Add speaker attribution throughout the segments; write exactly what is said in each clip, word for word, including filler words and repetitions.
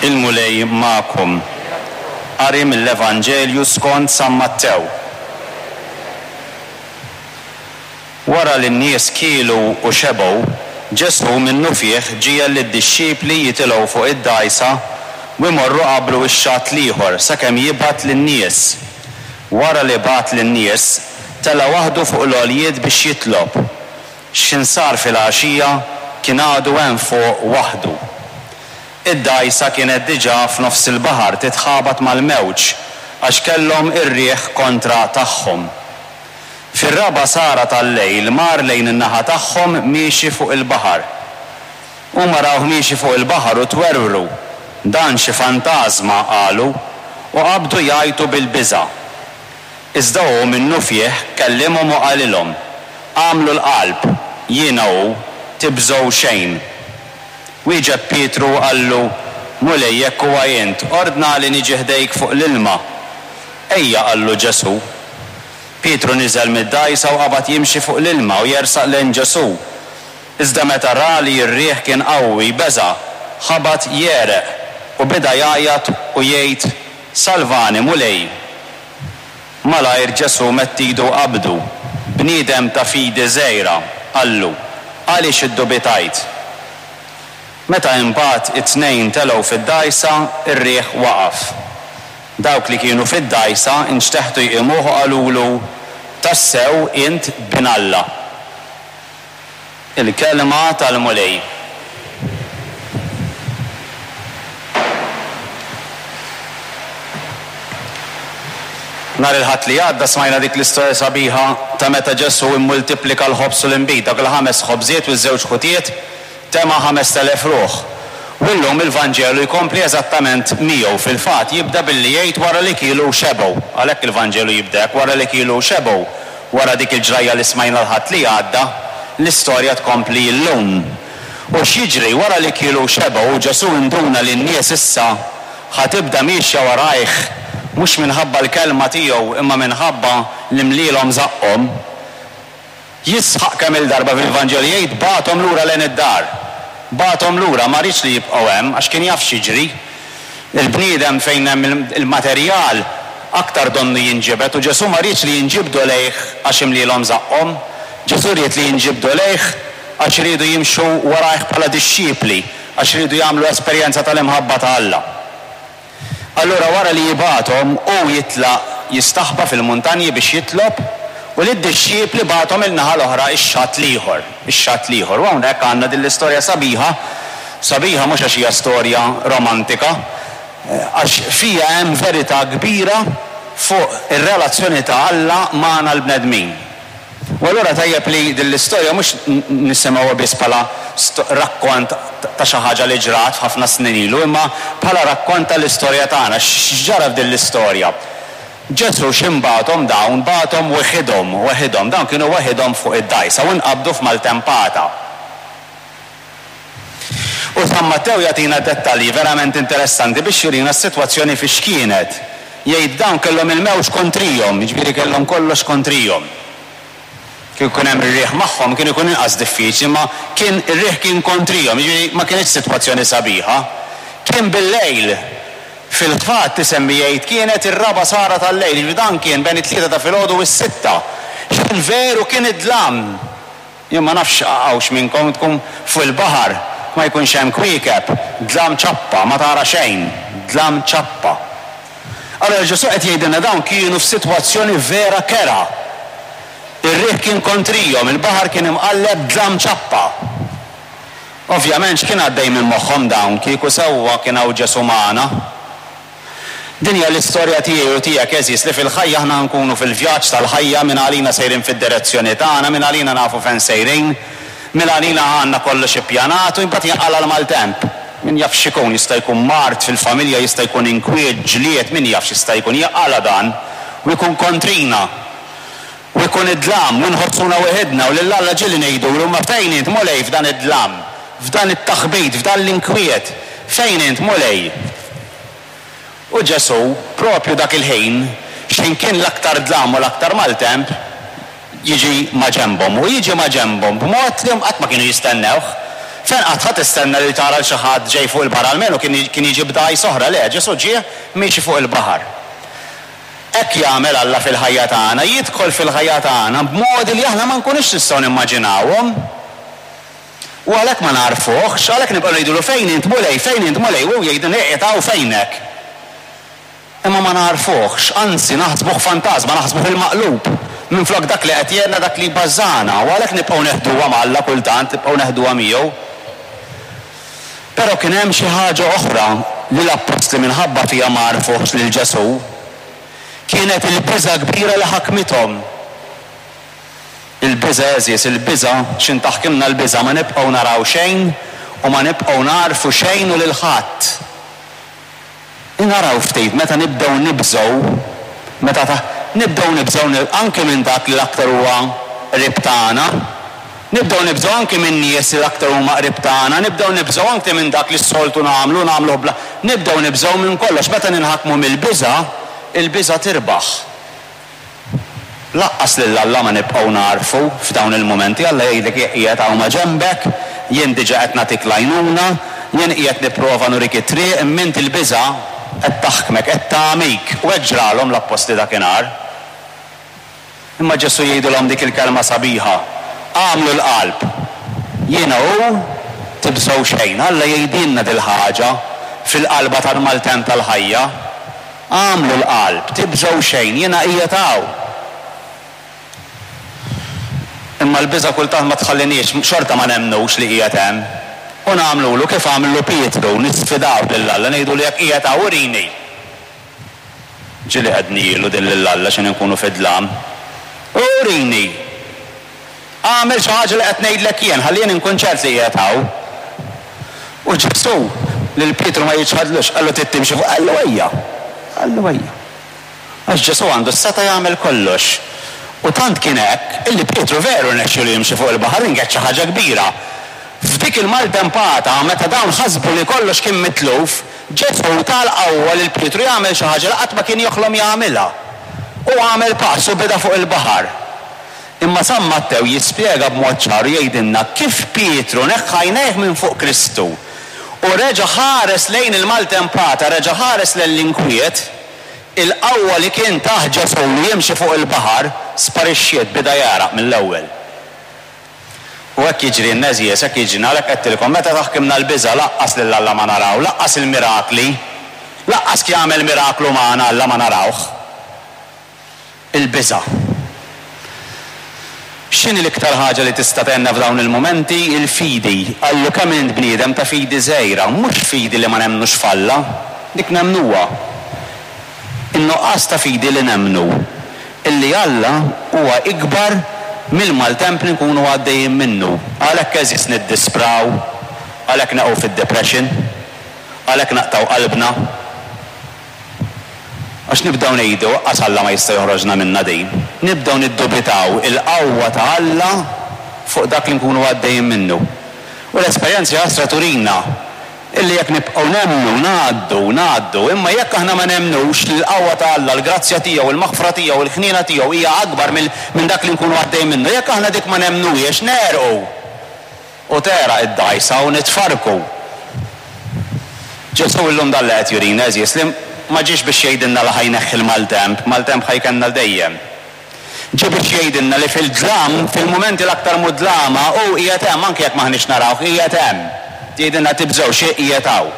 Speaker 1: Il-Mulej magħkom. Qari mill-Evanġelju skont San Mattew. Wara li n-nies kielu u xebgħu, Ġesù minnufih ġiegħel lid-dixxipli jitilgħu fuq id-dgħajsa u jmorru qablu x-xatt l-ieħor sakemm jibgħat lin-nies. Wara li bagħat lin-nies, tela' waħdu fuq l-għoljiet biex jitlob. X'ħin sar filgħaxija, kien għadu hemm fuq waħdu. Id-dgħajsa kienet diġà f'nofs il-baħar titħabat mal-mewġ għax kellhom ir-riħ kontra tagħhom. Fir-raba' sara tal-lejl mar lejn in-naħa tagħhom miexi fuq il-baħar. Huma rawh miexi fuq il-baħar u twerwru. Dan xi fantażma, qalu, u qabdu jgħajtu bil-biża'. Iżda hu minnufih kellimhom u qalilhom, Agħmlu l-qalb, jiena hu, tibżgħu xejn. Wieġeb Pietru u qallu, Mulej, jekk huwa int, ordnali niġi ħdejk fuq l-ilma. Ejja, qallu Ġesù. Pietru niżel mid-dgħajsa u qabad jimxi fuq l-ilma u jersaq lejn Ġesù. Iżda meta ra li r-riħ kien qawwi, beża', ħabat jegħreq, u beda jgħajjat u jgħid, Salvani, Mulej! Malajr Ġesù medd idu u qabdu. Bniedem ta' fidi żgħira, qallu, għaliex iddubitajt? Meta imbagħad it-tnejn telgħu fid-dgħajsa, ir-riħ waqaf. Dawk li kienu fid-dgħajsa nxteħtu jqimuh u qalulu, Tassew int Bin Alla. Il-Kelma tal-Mulej. Nhar il-Ħadd li għadda smajna dik l-istorja sabiħa ta' meta Ġesù immultiplika l-ħobż u l-inbid, dawk il-ħames ħobżiet u ż-żewġ ħutiet, tema' ħamest elef ruħ. U llum il-Vanġelu jkompli eżattament miegħu. Fil-fatt, jibda billi jgħid wara li kielu u xebgħu. Għalhekk il-Vanġelu jibda hekk, wara li kielu u xebgħu. Wara dik il-ġrajja li smajna l-Ħadd li għadda, l-istorja tkompli llum. U x'jiġri? Wara li kielu u xebgħu, Ġesù induna li n-nies issa ħa tibda miexja warajh, mhux minħabba l-kelma tiegħu imma minħabba li mlielhom żaqqhom. Jisħaq kemm-il darba fil-Vanġelu jgħid bagħathom lura lejn id-dar. Bagħathom lura, ma riedx li jibqgħu hemm għax kien jaf x'jiġri. Il-bniedem fejn hemm il-materjal aktar donnu jinġibed u Ġesù ma riedx li jinġibdu lejh għax imlielhom żaqqhom. Ġesù ried li jinġibdu lejh għax riedu jimxu warajh bħala dixxipli, għax riedu jagħmlu esperjenza tal-imħabba ta' Alla. Allura wara li jibgħathom, hu jitlaq jistaħba fil-muntanji biex jitlob, u lid-dixxipli bagħathom il-naħa l-oħra, ix-xatt l-ieħor, ix-xatt l-ieħor. U hawnhekk għandna din l-istorja sabiħa, sabiħa mhux għax hija storja romantika, għax fiha hemm verità kbira fuq ir-relazzjoni ta' Alla magħna l-bnedmin. U allura tajjeb li din l-istorja mhux nisimgħuha biss bħala rakkont ta' xi ħaġa li ġrat ħafna snin ilu, imma bħala rakkont tal-istorja tagħna. X'ġara f'din l-istorja? Ġesù x'inbagħathom dawn? Bagħathom weħidhom, weħidhom. Dawn kienu weħidhom fuq id-dgħajsa u nqabdu f'maltempata. U San Mattew jagħtina dettalji verament interessanti biex jurina s-sitwazzjoni fiex kienet. Jgħid dawn kellhom il-mewġ kontrihom, jiġifieri kellhom kollox kontrihom. Kieku kien hemm ir-riħ magħhom kien ikun inqas diffiċli, imma kien ir-riħ kien kontrihom, jiġifieri ma kinitx sitwazzjoni sabiħa. Kien bil-lejl. Fil-fatt isemmi jgħid kienet ir-raba' sara tal-lejl, jiġifieri dan kien bejn it-tlieta ta' filgħodu u s-sitta. X'kien veru kien id-dlam. Jien ma nafx hawnx minnkom tkun fuq il-baħar, ma jkunx hemm kwiekeb, dlam ċappa, ma tara xejn, dlam ċappa. Allura Ġesù qed jgħidilna dawn kienu f'sitwazzjoni vera kerha. Ir-riħ kien kontrihom, il-baħar kien imqalleb, dlam ċappa. Ovvjament x'kien għaddej minn moħħhom dawn kieku sewwa kien hawn Ġesù magħna? Din hija l-istorja tiegħi u tiegħek għeżież li fil-ħajja aħna nkunu fil-vjaġġ tal-ħajja, minn għalina sejrin fid-direzzjoni tagħna, minn għalina nafu fejn sejrin, minn għalina għandna kollox ippjanat u imbagħad jinqala' l-maltemp. Min jaf x'ikun, jista' jkun mard fil-familja, jista' jkun inkwiet, ġlied, min jaf x'jista' jkun, jinqala' dan u jkun kontrina. U jkun id-dlam, u nħossuna weħidna, u lil Alla ġieli ngħidulu, Imma fejn int, Mulej, f'dan id-dlam, f'dan it-taħbit, f'dan l-inkwiet? Fejn int, Mulej? U Ġesù, propju dak il-ħin, x'ħin kien l-aktar dlam u l-aktar maltemp, jiġi maġenbhom. U jiġi maġenbhom b'mod li qatt ma kienu jistennewh. Fejn qatt ħa tistenna li tara l xi ħadd ġej fuq il-baħar, almenu kien jiġi b'dgħajsa oħra, le, Ġesù ġie miexi fuq il-baħar. Hekk jagħmel Alla fil-ħajja tagħna, jidħol fil-ħajja tagħna b'modi li aħna ma nkunux nistgħu nimmaġinawhom. U għalhekk ma nagħrfuhx, għalhekk nibqgħu ngħidulu fejn int Mulej, fejn int Mulej, u jgħidilna qiegħed hawn fejnek. Imma ma nagħrfuhx, anzi naħsbuh fantażma, naħsbuh il-maqlub. Minflok dak li qed jgħinna, dak li jbażżagħna, u għalhekk nibqgħu neħduha ma' Alla kultant, nibqgħu neħduha miegħu. Però kien hemm xi ħaġa oħra li l-appostli minħabba fiha ma għarfuhx lil Ġesù. Kienet il-biża' kbira li ħakmithom. Il-biża' għeżież, il-biża', x'in taħkimna l-biża' ma nibqgħu naraw xejn u ma nibqgħu nagħrfu xejn u lil ħadd. Naraw ftit meta nibdew nibżgħu, meta ta, nibdew nibżgħu anki minn dak li l-aktar huwa qrib tagħna. Nibdew nibżgħu anki minn nies li l-aktar huma qrib tagħna, nibdew nibżgħu anki minn dak li s-soltu nagħmlu, nagħmluh bla, nibdew nibżgħu minn kollox. Meta ninħakmu mill-biża', il-biża' tirbaħ. Lanqas lil Alla ma nibqgħu nagħrfu f'dawn il-mumenti. Alla jgħidlek jien qiegħed hawn ma' ġenbek, jien diġà qed nagħtik l-għajnuna, jien qiegħed nipprova nurik it-triq, imma int il-biża' qed taħkmek, qed tagħmik. U hekk ġralhom l-appostli dakinhar. Imma Ġesù jgħidilhom dik il-kelma sabiħa, Agħmlu l-qalb, jiena hu, tibżgħu xejn. Alla jgħidilna dil-ħaġa fil-qalba tal-maltemp tal-ħajja. Agħmlu l-qalb, tibżgħu xejn, jiena qiegħed hawn. Imma l-biża' kultant ma tħalliniex, xorta ma nemmnux li qiegħed hemm. U nagħmlulu kif għamlu Pietru, nisfidaw lil Alla, ngħidulu jekk qiegħed hawn urini. Ġieli għednielu din lil Alla x'inhi nkunu fid-dlam. Urini! Agħmel xi ħaġa li qed ngħidlek jien, ħalli jien inkun ċert li qiegħed hawn. U Ġesù lil Pietru ma jiċħadlux, qallu trid timxi fuq, qallu ejja. Qallu ejja. Għax Ġesù għandu s-setgħa jagħmel kollox. U tant kien hekk illi Pietru veru rnexxielu jimxi fuq il-baħar, din kienet xi ħaġa kbira. F'dik il-maltempata, meta dawn ħasbu li kollox kien mitluf, Ġesù ta l-qawwa lil Pietru jagħmel xi ħaġa li qatt ma kien joħlom jagħmilha. Hu għamel pass u beda fuq il-baħar. Imma San Mattew jispjega b'mod ċar u jgħidilna kif Pietru neħħa għajnejh minn fuq Kristu u reġa' ħares lejn il-maltempata, reġa' ħares lejn l-inkwiet, il-qawwa li kien tah Ġesù li jimxi fuq il-baħar sparixxiet, beda jegħraq mill-ewwel. U hekk jiġrilna għeżież, hekk jiġrilna, għalhekk għedtilkom, meta taħkimna l-biża' lanqas lil Alla ma naraw, lanqas il-mirakli, lanqas jagħmel miraklu magħna Alla ma narawh. Il-biża'. X'inhi l-iktar ħaġa li tista' tgħinna f'dawn il-mumenti? Il-fidi. Qallu kemm int bniedem ta' fidi żgħira, mhux fidi li ma nemmnux f'Alla, dik nemmnuha. In-nuqqas ta' fidi li nemmnu illi Alla huwa ikbar mill-maltemp li nkunu għaddejjin minnu. Għalhekk għeżież niddispraw, għalhekk neqgħu fid-depression, għalhekk naqtgħu qalbna. Għax nibdew ngħidu, Aqqas Alla ma jista' joħroġna minnha din. Nibdew niddubitaw il-qawwa ta' Alla fuq dak li nkunu għaddejjin minnu. U l-esperjenza ħasra turina illi jekk nibqgħu nemmnu, ngħaddu, ngħaddu, imma jekk aħna ma nemmnux li l-qawwa ta' Alla, l-grazzja tiegħu, il-maħfra tiegħu, il-ħniena tiegħu hija akbar minn dak li nkunu għaddejjin minnu, jekk aħna dik ma nemmnuhiex, negħrqu. U tegħraq id-dgħajsa u nitfarrku. Ġesù illum dan li qed jurina, għeżież, li ma ġiex biex jgħidilna li ħa jneħħi l-maltemp, maltemp ħa jkellna 'l dejjem. Ġie biex jgħidilna li fil-dlam, fil-mumenti l-aktar mudlama, hu qiegħed hemm, anke jekk m'aħniex narawh, qiegħed hemm. Jgħidilna tibżgħux, hi qiegħed hawn.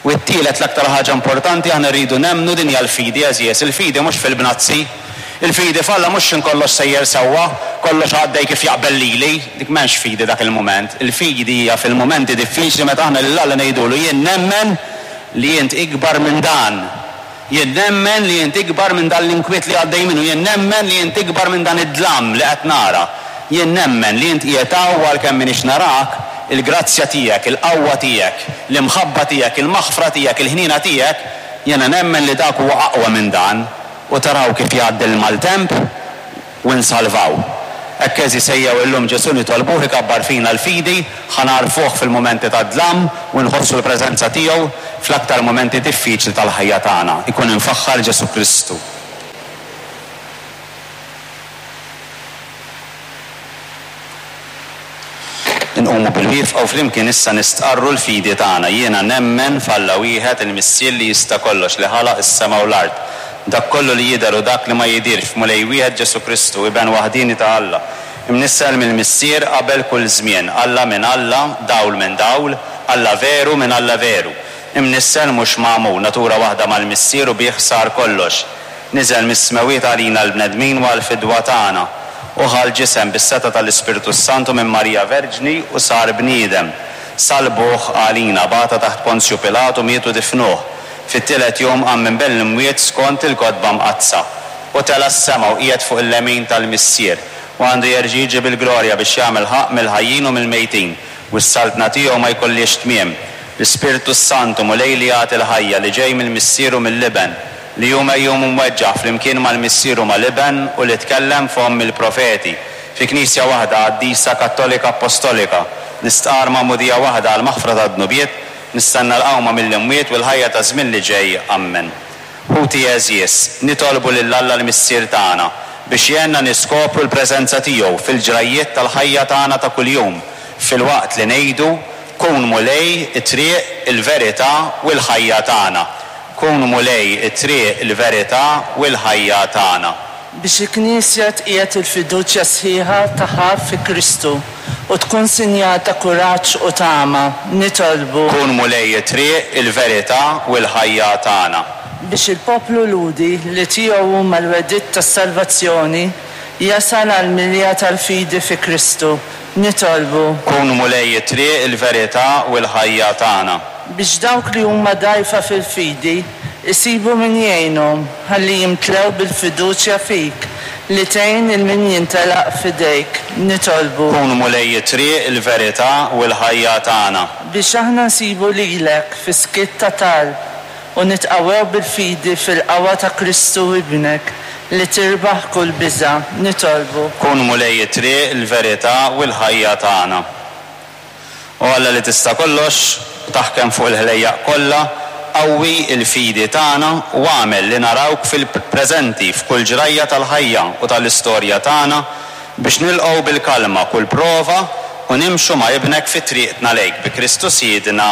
Speaker 1: U t-tielet l-aktar ħaġa importanti aħna rridu nemmnu, din hija l-fidi, għeżież, il-fidi mhux fil-bnazzi. Il-fidi f'Alla mhux x'in kollox sejjer sewwa, kollox għaddej kif jaqbel lili, dik m'hemmx fidi dak il-mument. Il-fidi hija fil-mumenti diffiċli meta aħna lil Alla ngħidulu jien nemmen li int ikbar minn dan. Jien nemmen li int ikbar minn dan l-inkwiet li għaddej minnu, jien nemmen li int ikbar minn dan id-dlam li qed nara. Jien nemmen li int qiegħed hawn u għalkemm m'iniex narak, il-grazzja tiegħek, il-qawwa tiegħek, l-imħabba tiegħek, il-maħfra tiegħek, il-ħniena tiegħek, jiena nemmen li dak huwa aqwa minn dan. U taraw kif jgħaddi l-maltemp u nsalvaw. Hekk għeżież ejjew illum Ġesù nitolbuh ikabbar fina l-fidi, ħa nagħrfuh fil-mumenti tad-dlam u nħossu l-preżenza tiegħu fl-aktar mumenti diffiċli tal-ħajja tagħna. Ikun imfaħħar Ġesù Kristu. Inqumu bilwieqfa u flimkien issa nistqarru l-fidi tagħna. Jiena nemmen f'Alla wieħed, il-Missier li jista' kollox, li ħalaq is-sema u l-art. Dak kollu li jidher u dak li ma jidhirx, f'Mulej wieħed Ġesù Kristu, Iben waħdieni ta' Alla. Imnissel mill-Missier qabel kull żmien, Alla minn Alla, dawl minn dawl, Alla veru minn Alla veru. Imnissel mhux magħmul, natura waħda mal-Missier u bih sar kollox. Niżel mis-smewwiet għalina l-bnedmin u għall-fidwa tagħna. U ħa l-ġisem bis-setgħa tal-Ispirtu s-Santu minn Marija Verġni u sar bniedem. Salbuh għalina, bata taħt Ponzju Pilatu, miet u difnuh. Fit-tielet jum qam minn bejn l-imwiet skont il-Kotba Mqaddsa. U tela' s-sema u qiegħed fuq il-lemin tal-Missier. U għandu jerġa' jiġi bil-glorja biex jagħmel ħaqq mill-ħajjin u mill-mejtin, u s-saltna tiegħu ma jkollhiex tmiem. L-Ispirtu s-Santu, Mulej li jagħti l-ħajja, li ġej mill-Missier u mill-Iben, li hu megħjun u mweġġaħ flimkien mal-Missier u mal-Iben u li tkellem fomm il-profeti. Fi Knisja waħda, qaddisa, Kattolika, Appostolika, nistqarr magħmudija waħda għall-maħfra tad-dnubiet, nistenna l-qawma mill-imwiet u l-ħajja taż-żmien li ġej. Ammen. Ħuti għeżież, nitolbu lil Alla l-Missier tagħna biex jgħinna niskopru l-preżenza tiegħu fil-ġrajjiet tal-ħajja tagħna ta' kuljum, filwaqt li ngħidu, Kun Mulej it-triq, il-verità u l-ħajja tagħna. Kun Mulej it-triq, il-verità u l-ħajja tagħna.
Speaker 2: Biex il-Knisja tqiegħed il-fiduċja sħiħa tagħha fi Kristu u tkun sinjal ta' kuraġġ u tama, nitolbu.
Speaker 1: Kun Mulej it-triq, il-verità u l-ħajja tagħna.
Speaker 2: Biex il-poplu Lhudi, li tiegħu huma l-wegħdiet tas-salvazzjoni, jasal għall-milja tal-fidi fi Kristu, nitolbu.
Speaker 1: Kun Mulej it-triq, il-verità u l-ħajja tagħna.
Speaker 2: Biex dawk li huma dgħajfa fil-fidi jsibu min jgħinhom ħalli jimtlew bil-fiduċja fik, li tgħin lil min jintelaq f'idejk, nitolbu.
Speaker 1: Kun Mulej it-triq, il-verità u l-ħajja tagħna.
Speaker 2: Biex aħna nsibu lilek fis-skiet ta' talb u nitqawwew bil-fidi fil-qawwa ta' Kristu Ibnek, li tirbaħ kull biża', nitolbu.
Speaker 1: Kun Mulej it-triq, il-verità u l-ħajja tagħna. O Alla li tista' kollox u taħkem fuq il-ħlejjaq kollha, qawwi l-fidi tagħna u agħmel li narawk fil-preżenti f'kull ġrajja tal-ħajja u tal-istorja tagħna biex nilqgħu bil-kalma kull prova u nimxu ma' Ibnek fi triqtna lejk bi Kristu Sidna.